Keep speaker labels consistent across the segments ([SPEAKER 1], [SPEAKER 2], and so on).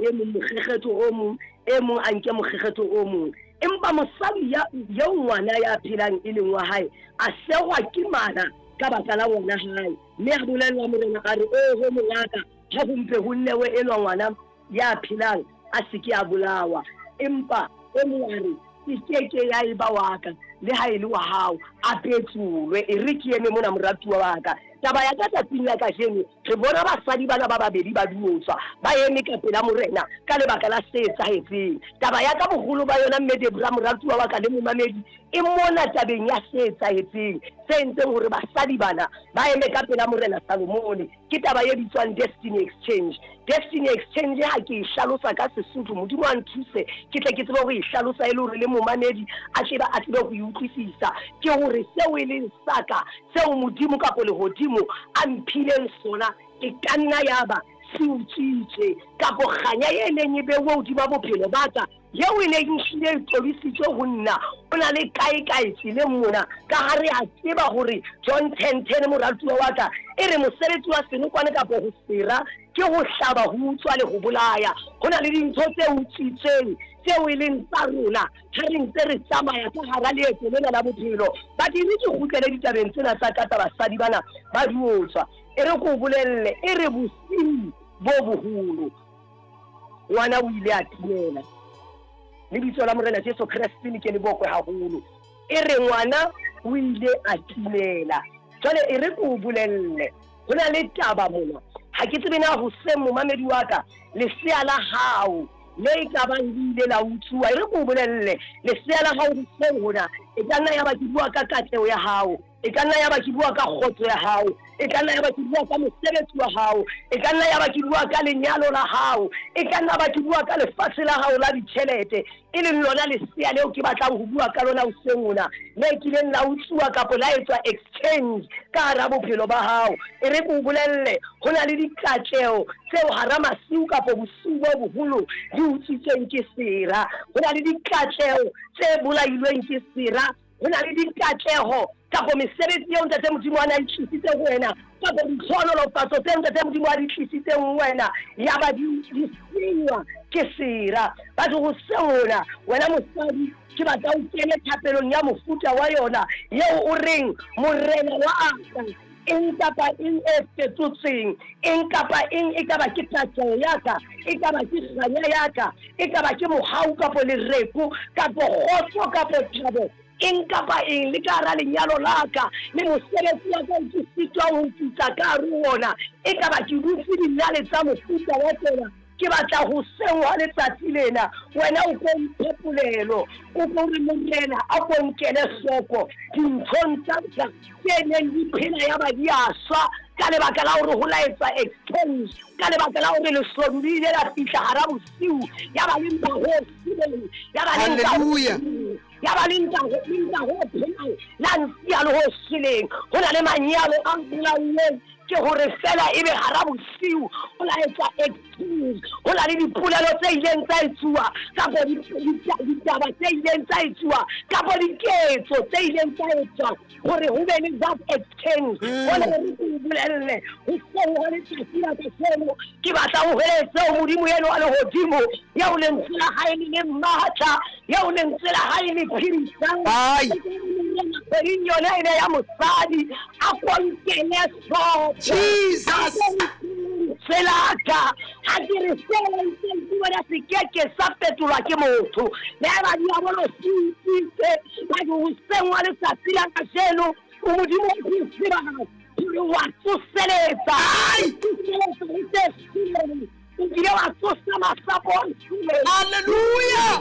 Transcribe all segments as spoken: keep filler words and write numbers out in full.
[SPEAKER 1] e mong mokgekgetho o mong, e mong a nke mokgekgetho o mong. Empa mosadi ya eo ngwana ya phelang e leng wa hae a sehwa ke mala ka baka la ngwana hae, mme a bolella morena a re, oho mongaka, ha ho mpe ho nnewe enwa ngwana ya phelang a se ke a bolawa. Empa e mong a re, e keke ya eba wa ka, le ha e le wa hao, a petsolwe. E re ke eme mona moratuwa wa ka. Taba ya ka tsatsing la kajeno, re bona basadi bana ba babedi ba diotswa, ba eme ka pela morena ka lebaka la se etsahetseng. Taba ya ka boholo ba yona mme Debra moratuwa wa ka le momamedi, e mona tabeng ya se etsahetseng, se entseng hore basadi bana ba eme ka pela morena Salomone. Ke taba e bitswang destiny exchange. Destiny exchange ha ke e hlalosa ka Sesotho, Modimo a nthuse ke tle ke tsebe ho e hlalosa e le hore le momamedi a tsebe a tsebe ho e utlwisisa. Ke hore seo e leng sa ka, seo Modimo kapo lehodimo a mphileng sona, e ka nna ya ba se utswitswe, kapo kganya e neng e beuwe hodima bophelo ba ka, eo e neng ehlile e tobisitswe ho nna, o na le kae kae tseleng mona. Ka ha re a tseba hore John ten ten moratuwa wa ka e re mosebetsi wa senokwane kapo ho sera ke ho hlaba, ho utswa le ho bolaya. Ho na le dintho tse utswitsweng tseo e leng tsa rona ha re ntse re tsamaya ka hara leeto lena la bophelo. Badiri ke kgutlele ditabeng tsena tsa ka tsa basadi bana ba diotswa. E re ko bolelle, e re bosiu bo boholo ngwana o ile a timela. Lebitso la Morena Jesu Kreste le ke le bokwe haholo. E re ngwana o ile a timela. Jwale e re ko bolelle, ho na le taba mona. Ha ke tsebe na hoseng momamedi wa ka, lesea la hao le e ka bang le ile la utsuwa. E re ko bolelle, lesea la hao hoseng hona e ka nna ya ba ke bua ka katleho ya hao, e ka nna ya ba ke bua ka kgotso ya hao, e ka nna ya ba ke bua ka mosebetsi wa hao, e ka nna ya ba ke bua ka lenyalo la hao, e ka nna ba ke bua ka lefatshe la hao la ditjhelete, e leng lona lesea leo ke batlang ho bua ka lona hoseng hona, le kileng la utsuwa kapo la etswa exchange ka hara bophelo ba hao. E re ke o bolelle, ho na le dikatleho tseo hara masiu kapo bosiu bo boholo di utswitsweng ke sera. Ho na le dikatleho tse bolailweng ke sera. Ho na le dikatleho kapo mesebetsi eo Ntate Modimo a na e tlisitse ho wena, kapo ditlhohonolofatso tseo Ntate Modimo a di tlisitseng ho wena, ya ba di di senywa ke sera. Batho hoseng hona, wena mosadi, ke batla o kene thapelong ya mofuta wa yona eo o reng, Morena wa ka, eng kapa eng e fetotsweng, eng kapa eng, e ka ba ke katleho ya ka, e ka ba ke kganya ya ka, e ka ba ke mohau kapo lereko kapo kgotso kapo thabo, eng kapa eng le ka hara lenyalo la ka le mosebetsi wa ka ke sitwang ho tsitsa ka hare ho ona, e ka ba ke dutse dinale tsa mofuta wa tsona, ke batla ho sengwa letsatsi lena. Wena o ko mphe polelo, o ko re Morena a ko nkele hloko dinthong tsa ka tse neng di phela ya ba di a swa ka lebaka la hore ho la etswa exchange, ka lebaka la hore leshodu le ile la fihla hara bosiu, ya ba le mpa ho sileng, ya ba le mpa ho
[SPEAKER 2] Hallelujah.
[SPEAKER 1] ya ba le nta ho nta ho phelang, la nsiya le ho shweleng. Ho na le manyalo a bolauweng ke hore fela ebe hara bosiu ho la etswa exchange. Ho na le dipolelo tse ileng tsa etsuwa kapo ditaba tse ileng tsa etsuwa kapo diketso tse ileng tsa etswa hore ho be le that exchange. Hona re ke o bolelle, hoseng ha letsatsi la kajeno ke batla ho hweletsa ho Modimo eno wa lehodimo, eo lentswe la hae le leng matla, eo lentswe la hae le phedisang.
[SPEAKER 2] Ai.
[SPEAKER 1] Kgweding yona ena ya mosadi, a ko nkele hloko.
[SPEAKER 2] Jesus.
[SPEAKER 1] Selaka ha ke re seo ntseng ke bona se keke sa fetolwa ke motho. Le ha eba diabolo se utswitse, ba ke hoseng wa letsatsi la kajeno, o Modimo o go tseba hore wa tsoseletsa. Tsoseletsa le tse shweleng. O kile wa tsosa masapo a shweleng.
[SPEAKER 2] Hallelujah.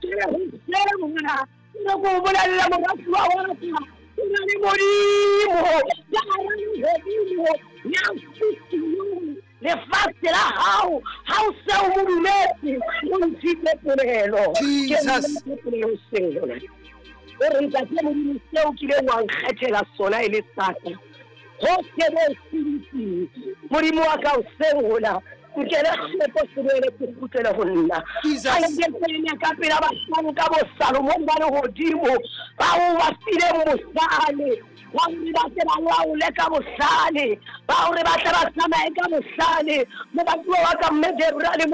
[SPEAKER 1] Ke re hoseng hona, ke re ke o bolelle moratuwa wa ka, ho na le Modimo ya hara lehodimo ya futuhang lefatshe la hao. Ha o se o mo dumetse, o ntshitse polelo.
[SPEAKER 2] Jesus.
[SPEAKER 1] Ke ntshitse polelo hoseng hona. O re Ntate Modimo, seo kileng wa nkgethela sona e le sa ka, hohle mo o Modimo wa ka hoseng hona, nkele hloko se boele se kgutlele ho nna.
[SPEAKER 2] Jesus.
[SPEAKER 1] Ha ke tsene ka pela bahlanka bo Salomone ba lehodimo, bao ba fileng bohlale, ba hore ba tle ba laole ka bohlale, ba hore ba tle ba tsamaye ka bohlale. Moratuwa wa ka mme Debra le